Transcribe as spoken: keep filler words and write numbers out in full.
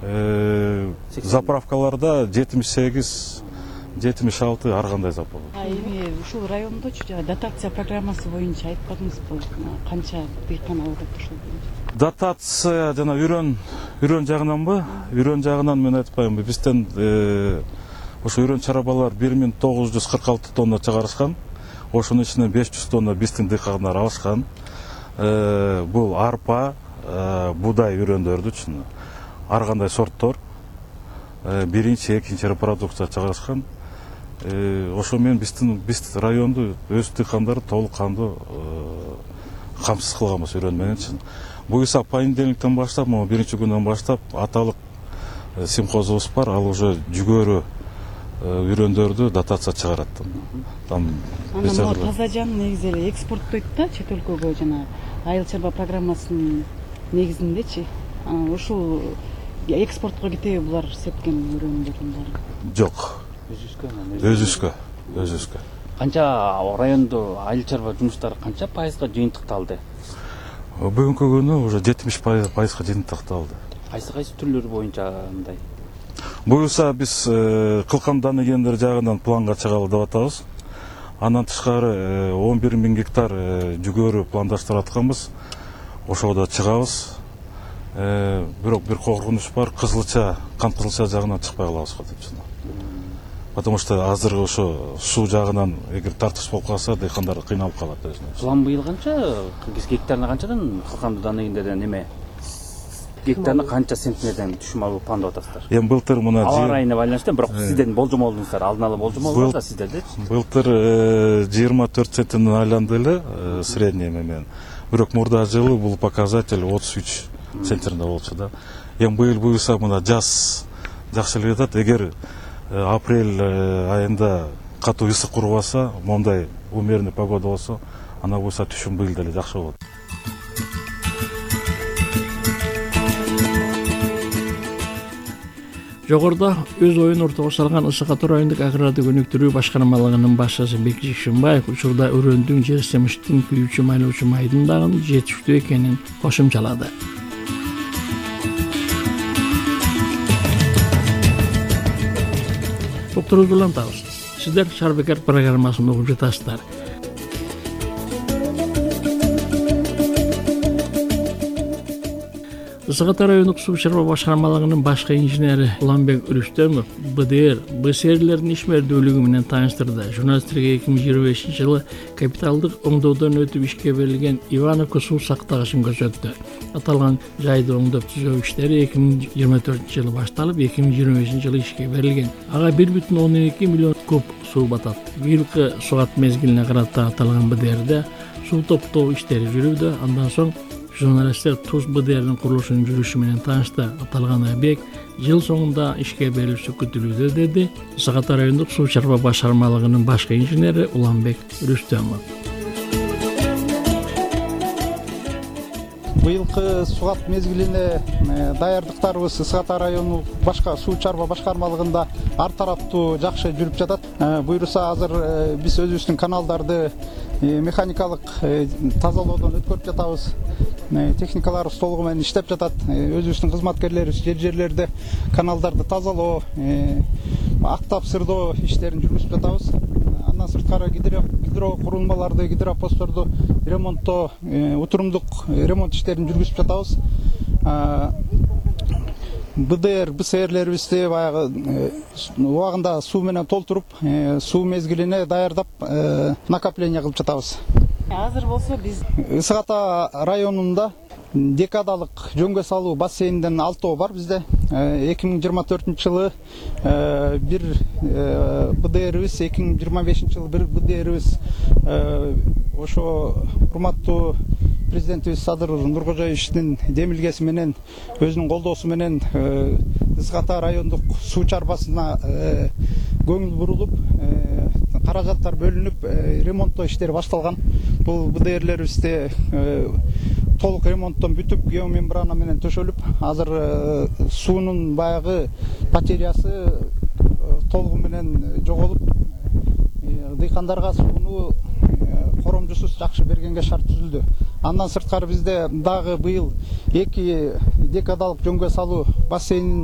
заправкаларда жетимиш сегиз жетимиш алты ар кандай заправка. А эми ушул райондочу жана дотация программасы боюнча айтпадыңызбы, канча дыйкан алып атат ушул боюнча? Дотация жана үрөн үрөн жагынанбы? Үрөн жагынан мен айтпайм. Бизден ошо үрөн чарабалар бир миң тогуз жүз кырк алты тонна чыгарышкан. Ошонун ичинен беш жүз тонна биздин дыйкандар алышкан. Бул арпа, будай үрөндөрдүчү. Ар кандай сорттор. Биринчи, экинчи репродукция чыгарышкан. Ошо менен биздин биз районду өз дыйкандары толук кандуу камсыз кылганбыз үрөн мененчи. Буюрса понедельниктен баштап, могу биринчи күндөн баштап аталык симхозубуз бар, ал уже жүгөрү үрөндөрдү дотация чыгарат. Там таза жан негизи эле экспорттойт да чет өлкөгө, жана айыл чарба программасынын негизиндечи. Ушул экспортко кетеби булар сепкен үрөндөрдүн баары? Жок. Өзүбүзгө, өзүбүзгө. Канча райондо айыл чарба жумуштары канча пайызга жыйынтыкталды? Бүгүнкү күнү уже жетимиш пайызга жыйынтыкталды. Кайсы кайсы түрлөрү боюнча мындай? Буюрса биз кылкан даныгендер жагынан планга чыгалы деп атабыз. Андан тышкары он бир миң гектар жүгөрү пландаштырып атканбыз. Ошого да чыгабыз. Бирок бир коркунуч бар, кызылча, кант кызылча жагынан чыкпай калабыз деп. Потому что азыр ошо суу жагынан эгер тартыш болуп калса, дыйкандар кыйналып калат өзүнө. План быйыл канча? Гектарына канчадан кылканды даныгендерден эме? Гектарына канча центнерден түшүм алуу план деп атасыздар? Эми былтыр мына аба райына байланыштуу, бирок сиздердин болжомолуңуздар, алдын ала болжомол бар да сиздерде? Былтыр жыйырма төрт центнерден айланды эле средний менен. Бирок мурда жылы бул показатель отуз үч центнерде болчу да. Эми быйыл буюрса мына жаз жакшы эле жатат. Эгер апрель айында катуу ысык курбаса, мондай умеренный погода болсо, ана буюрса түшүм быйыл деле жакшы болот. Жогоруда өз оюн ортого салган Ысык Ата райондук агрардык өнүктүрүү башкармалыгынын башчысы Бекжик Шымбаев учурда үрөндүн же семиштин күйүүчү майлоочу майдын дагы жетиштүү экенин кошумчалады. Токтурубузду улантабыз. Сиздер Шаар Бекер программасын угуп жатасыздар. Ысык Ата райондук суу чарба башкармалыгынын башкы инженери Уланбек Рүстөмов Б Д Р, Б С Рлердин ишмердүүлүгү менен тааныштырды. Журналисттерге эки миң жыйырма бешинчи жылы капиталдык оңдоодон өтүп ишке берилген Ивановко суу сактагычын көрсөттү. Аталган жайды оңдоп түзөө иштери эки миң жыйырма төртүнчү жылы башталып, эки миң жыйырма бешинчи жылы ишке берилген. Ага бир бүтүн ондон эки миллион куб суу батат. Быйылкы сугат мезгилине карата аталган Б Д Рде суу топтоо иштери жүрүүдө. Андан соң журналисттер Туз Б Д Рдин курулушунун жүрүшү менен таанышты. Аталган объект жыл соңунда ишке берилиши күтүлүүдө, деди Ысык Ата райондук суу чарба башкармалыгынын башкы инженери Уланбек Рүстөмов. Быйылкы сугат мезгилине даярдыктарыбыз Ысык Ата районунун башка суу чарба башкармалыгында ар тараптуу жакшы жүрүп жатат. Буюрса азыр биз өзүбүздүн каналдарды механикалык тазалоодон өткөрүп жатабыз. Техникаларыбыз толугу менен иштеп жатат. Өзүбүздүн кызматкерлерибиз жер жерлерде каналдарды тазалоо, актап сырдоо иштерин жүргүзүп жатабыз. Андан сырткары гидро курулмаларды, гидропостторду ремонттоо, утурумдук ремонт иштерин жүргүзүп жатабыз. Б Д Р, Б С Рлерибизди баягы убагында суу менен толтуруп, суу мезгилине даярдап, накопление кылып жатабыз. Азыр болсо биз Ысык Ата районунда декадалык жөнгө салуу бассейнден алтоо бар bizde. эки миң жыйырма төртүнчү жылы бир Б Д Рбиз, эки миң жыйырма бешинчи жылы бир Б Д Рбиз ошо урматтуу президентибиз Садыр Нуркожоевичтин демилгеси менен, өзүнүн колдоосу менен Ысык Ата райондук суу чарбасына көңүл бурулуп, каражаттар бөлүнүп, ремонттоо иштери башталган. Бул Б Д Рлерибизде толук ремонттон бүтүп, геомембрана менен төшөлүп, азыр суунун баягы потерясы толугу менен жоголуп, дыйкандарга сууну коромжусуз жакшы бергенге шарт түзүлдү. Андан сырткары бизде дагы быйыл эки декадалык жөнгө салуу бассейнин